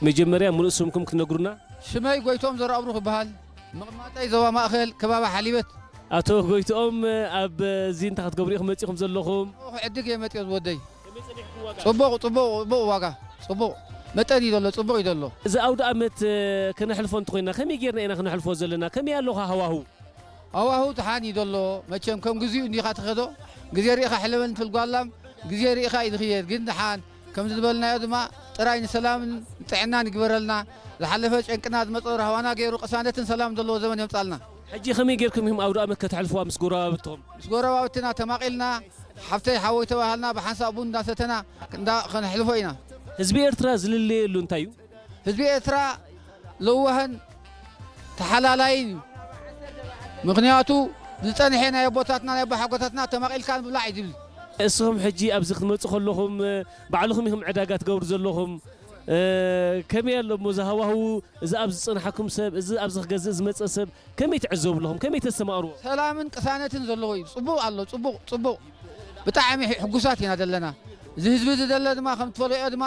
መጀመርያ ሙሉእ ስምኩም ክትነግሩና? ሽመይ ጎይቶም ዘርኣብሩኽ ይበሃል። መቐማጠይ ዞባ ማእኸል ከባቢ ሓሊበት። ኣቶ ጎይትኦም፣ ኣብ እዚ እንታይ ክትገብሩ ኢኹም መጺኹም ዘለኹም? ክዕድግ እየ መፅዮ ዝወደይ። ፅቡቕ ፅቡቕ ፅቡቕ ዋጋ ፅቡቕ መጠን እዩ ዘሎ ፅቡቕ እዩ ዘሎ። እዚ ኣውደ ኣመት ከነሕልፎ እንተኾይና ከመይ ጌርና ኢና ክነሕልፎ ዘለና? ከመይ ኣለኹ ሃዋህው? ሃዋህው ደሓን እዩ ዘሎ። መቸም ከም ግዚኡ እንዲኻ ትኸዶ። ግዜ ርኢኻ ሕለበኒ ትብል ጓላም፣ ግዜ ርኢኻ እዩ ዝኽየድ። ግን ደሓን ከም ዝበልናዮ ድማ ጥራይ ንሰላምን ጥዕናን ይግበረልና። ዝሓለፈ ጨንቅና ዝመፀ ራህዋና ገይሩ ቅሳነትን ሰላም ዘለዎ ዘመን የምፃልና። ሕጂ ከመይ ጌርኩም ኢኹም ኣውደ ኣመት ከተሕልፍዋ ምስ ጎረባብትኹም? ምስ ጎረባብትና ተማቒልና ሓፍተይ ሓወይ ተባሃልና ብሓንሳእ ቡን እንዳሰተና እንዳ ከነሕልፎ ኢና። ህዝቢ ኤርትራ ዝልለየሉ እንታይ እዩ? ህዝቢ ኤርትራ ለዋህን ተሓላላይን እዩ። ምኽንያቱ ዝጸንሐ ናይ ኣቦታትና ናይ ኣቦሓጎታትና ተማቒልካ ምብላዕ እዩ ዝብል። እስኹም ሕጂ ኣብዚ ክትመጹ ከለኹም ባዕልኹም ኢኹም ዕዳጋ ትገብሩ ዘለኹም። ከመይ ኣሎ እሞ እዚ ሃዋህው፣ እዚ ኣብዚ ዝጸንሓኩም ሰብ፣ እዚ ኣብዚ ክገዝእ ዝመጸ ሰብ ከመይ ትዕዘቡ ኣለኹም? ከመይ ተስተማቕርዎ? ሰላምን ቅሳነትን ዘለዎ እዩ። ጽቡቕ ኣሎ፣ ጽቡቕ፣ ጽቡቕ። ብጣዕሚ ሕጉሳት ኢና ዘለና። እዚ ህዝቢ እዚ ዘሎ ድማ ከም ትፈልዮ ድማ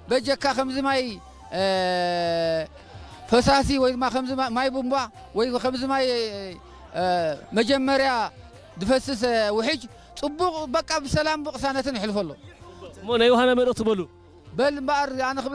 በጀካ ከምዚ ማይ ፈሳሲ ወይ ድማ ከምዚ ማይ ቡምባ ወይ ከምዚ ማይ መጀመርያ ዝፈስስ ውሕጅ ጽቡቕ በቃ ብሰላም ብቕሳነትን ይሕልፎ ኣሎ። እሞ ናይ ዮሃና መልእኽቲ በሉ። በል እምበኣር ኣነ ክብላ